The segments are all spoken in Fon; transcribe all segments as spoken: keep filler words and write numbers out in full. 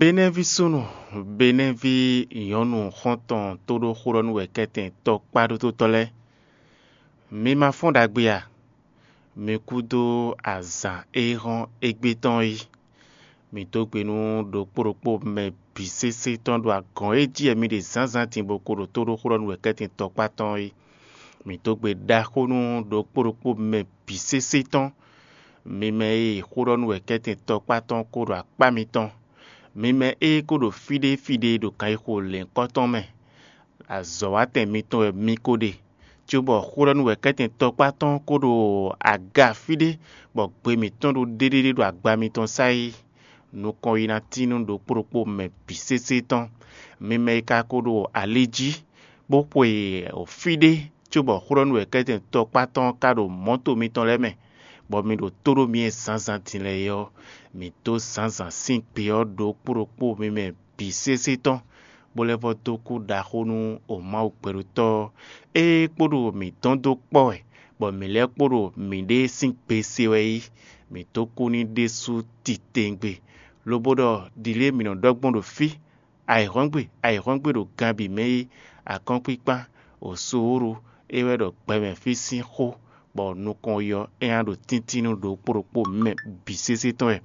Benɛ́ví súnnu, Benɛ́ví nyɔ̌nu xɔ́ntɔn tóɖóxóɖɔ́núwɛkɛ́tɛn tɔkpá ɖótótɔ́ lɛ́ɛ, mi ma fɔ́n ɖagbe a? Mi kúdó azǎn e hɔ́n égbé tɔn é. Mi dó gbe nú ɖokpó ɖokpó mɛ bǐ sésé tɔn ɖo agɔ̌n e jí wɛ mi ɖe zǎnzǎn din bó ko ɖo tóɖóxóɖɔ́núwɛkɛ́tɛn tɔkpá tɔn é. Mi dó gbe ɖaxó nú ɖokpó ɖokpó mɛ bǐ sésé tɔn, mi mɛ e xóɖɔ́núwɛkɛ́tɛn tɔkpá tɔn ko ɖo akpá mitɔn, mi mɛ e ko ɖo fíɖéfíɖé ɖo kanxixo lɛ̌nkɔ́ tɔn mɛ. Azɔ̌watɛn mitɔn wɛ mi ko ɖe, cóbɔ xóɖɔ́núwɛkɛ́tɛn tɔkpá tɔn ko ɖo aga fíɖé, bɔ gbe mǐtɔn ɖo ɖéɖéɖé ɖo agba mitɔn sá é. Nukɔn yi ná tín nú ɖokpó ɖokpó mɛ bǐ sésé tɔn. Mi mɛ e ka ko ɖo ali jí, bó xwe fíɖé, cóbɔ xóɖɔ́núwɛkɛ́tɛn tɔkpá tɔn ka ɖo mɔ̌to mitɔn lɛ́ɛ mɛ, bɔ mi ɖo tó ɖó myɛ zǎnzǎn din lɛ́ɛ é ɔ́, mǐ dó zǎnzǎn sín gbe ɔ́ ɖokpó ɖokpó mi mɛ bǐ sésé tɔn, bó lɛ́ vɔ́ dó kú ɖaxó nú o Mawu gbɛɖótɔ́ ɔ́, ée kpo ɖo mǐ dɔn dó kpɔ́ wɛ, bɔ mǐ lɛ́ kpo ɖo mǐɖée sín gbe se wɛ é. Mǐ dó kú n'i ɖésú titewungbe, lobo ɖɔ ɖǐlée mǐ nɔ ɖɔ gbɔn ɖo fí: ayǐhɔ́ngbe, ayǐhɔ́ngbe ɖo gan bǐ mɛ é, akɔ́nkpíkpán, wǒsowóɖu, é wɛ ɖɔ gbɛmɛ fí sín xó, bɔ nukɔn yi ɔ́, é ná ɖo tíntín nú ɖokpó ɖokpó mɛ bǐ sésé tɔn wɛ.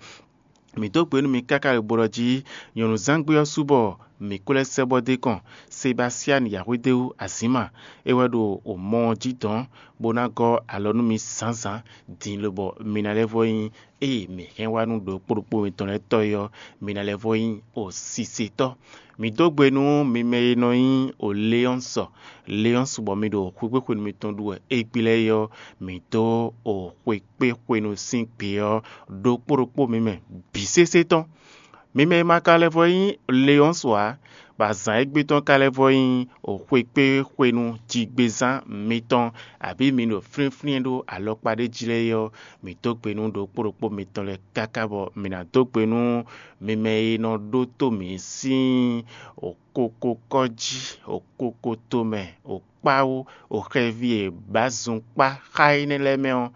Mǐ dó gbe nú mi káká ɖo bo ɖɔ jí nyɔ̌nuzángbé ɔ́ su bɔ mǐ ko lɛ́ sɛ́ bɔ dó kɔn Sebastiani Yahwedéwu Azǐma, é wɛ ɖo mɔ ɔ́ jí dɔ̌n, bó ná gɔ́ alɔ nú mi zǎnzǎn din, lobɔ mi ná lɛ́ vɔ́ nyí ée mǐ hɛn wá nú ɖokpó ɖokpó mitɔn lɛ́ɛ tɔ́ é ɔ́, mi ná lɛ́ vɔ́ nyí o sisetɔ́. Mǐ dó gbe nú mi mɛ e nɔ nyí o Leɔ́nsɔ, Leɔ́nsɔ bɔ mi ɖo xwekpéxwenu mitɔn ɖu wɛ égbé lɛ́ɛ é ɔ́, mǐ dó o xwekpéxwenu sín gbe ɔ́ ɖokpó ɖokpó mi mɛ bǐ sésé tɔn. Mi mɛ e ma ka lɛ́ vɔ́ nyí Leɔ́nsɔ ǎ, bɔ azǎn égbé tɔn ka lɛ́ vɔ́ nyí xwekpéxwenu jigbezán mitɔn, abǐ mi ɖo flínflín ɖó alɔkpa ɖé jí lɛ́ɛ é ɔ́, mǐ dó gbe nú ɖokpó ɖokpó mitɔn lɛ́ɛ káká bɔ mǐ ná dó gbe nú mi mɛ e nɔ ɖótó mǐ sín okoko kɔ́ jí, okoko tomɛ, okpáwú, oxɛví e bǎ zunkpá xá énɛ́ lɛ́ɛ mɛ ɔ́,